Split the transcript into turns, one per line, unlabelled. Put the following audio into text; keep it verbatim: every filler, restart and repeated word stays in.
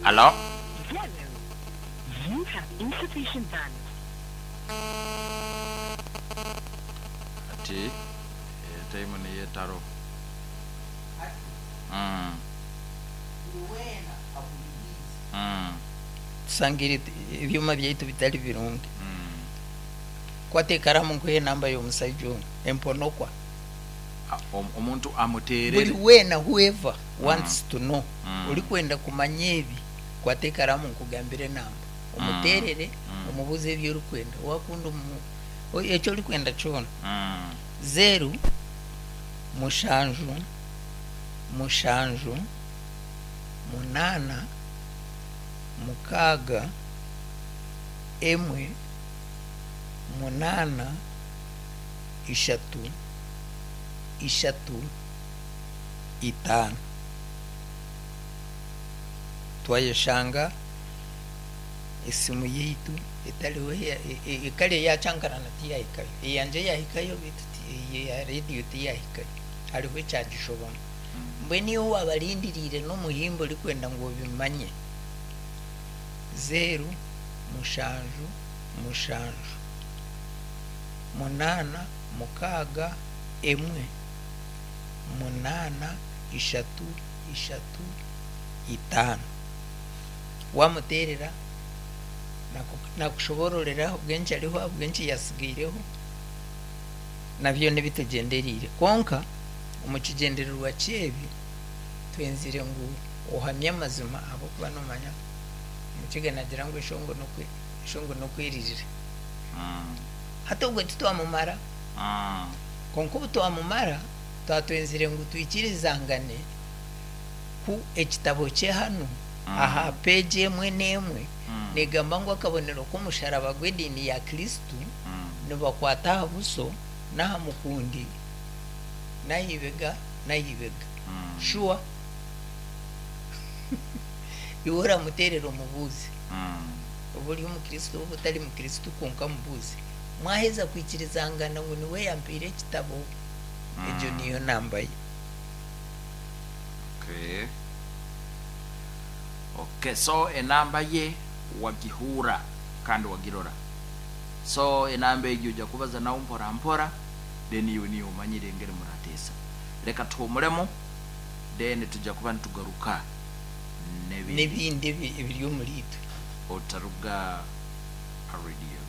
Alo?
You have insufficient balance.
Ati time niyo etariho. Mm. Mm.
Tusangire ebyoma byaitu bitari birungi.
Mm.
Kwata ekaramu nkuhe enamba y'omushaija onu emponokwa.
Ah, om- omuntu
Buri
amuteerere.
weena, whoever wants to know,
Mm.
orikwenda kumanya ebi, kwata ekaramu nkugambire enamba, omuteerere,
Mm.
omubuuze ebi orikwenda, wakunda omu eki orikwenda kyona.
Mm.
Zeero mushanju mushanju munaana mukaaga emwe munaana ishatu ishatu itaano. Twayeshanga esimu yaitu etariho, e- e- ekare yakyankarana, tiyahikayo. Eyangye yahikayo, beitu ti- eya rediyo tiyahikayo, hariho ekyagishobamu. Mbwenu iwe wabarindiriire n'omuhimbo orikwenda ngu obimanye, zeero mushanju mushanju munaana mukaaga emwe munaana ishatu ishatu itaano, wamuteerera naku- nakushobororera ahabw'enki ariho, ahabw'enki yasigaireho, nabyo nebitugyendereire. Kwonka omu kigyendererwa kyebi twenzire ngu ohamye amazima, ahabw'okuba nomanya Omukiga nagira ngu eshongo nokwe eshongo nokweririra.
Mm.
Hati obwo titwamumara.
Mm.
Kwonka obu twamumara, twatwenzire ngu twikirizangane ku ekitabo kye hanu
Mm.
aha peegi emwe n'emwe
Mm.
negamba ngu akabonero k'omusharaba gw'ediini ya Kristu
Mm.
nibakwata aha buso n'aha mukundi n'aha ibega n'aha ibega.
Mm.
Shuwa iwe oramuteerera omubuuzi,
Mm.
oba ori omukristo oba otari mukristo, kwonka mubuuzi. Mwaheza kwikirizangana ngu niwe yampiire ekitabo, egyo niyo namba ye.
Okay. Okay, so enamba ye wagihura kandi wagirora. So enamba egyo ojja kubaza nawe mpora mpora, then iwe niyo omanyire engeri murateesa. Reka tuhumuremu, then tujja kuba nitugaruka n'ebindi.
N'ebindi ebi- ebiri omuri itwe.
Otaruga ha radio.